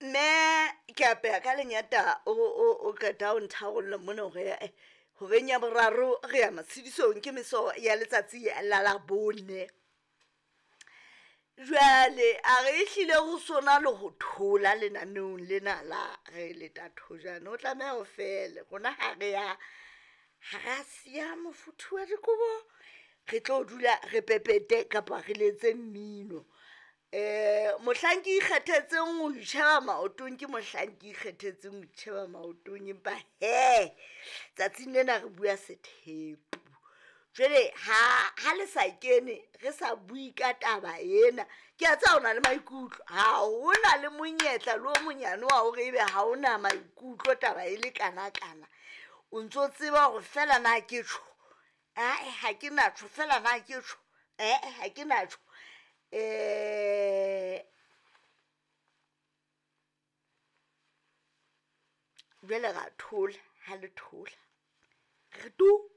Mme ke apeha ka lenyata o qeta o ntharolla mona hore horeng ya boraro re ya matshedisong, ke meso ya letsatsi la Labone. Jwale a re ehlile ho sona le ho thola lenaneong lena la re leta thojane, o tlameha ho fele rona ha re ya, ha ra siya mofuthu wa dikobo, re tlo dula re pepete kapa re letse mmino. Mohlang ke ikgethetseng ho itjheba maotong, ke mohlang ke ikgethetseng ho itjheba maotong, empa hee tsatsing lena re bua sethepu. Jwale ha le sa kene re sa bue ka taba ena, ke a tseba o na le maikutlo, ha hona le monyetla le o monyane wa hore ebe ha ona maikutlo taba e le kanakana. O ntso tseba hore feela na ke tjho, ae ha ke na tjho, feela na ke tjho, ee ha ke na tjho. Jwale ra thola ha le thola, re tu.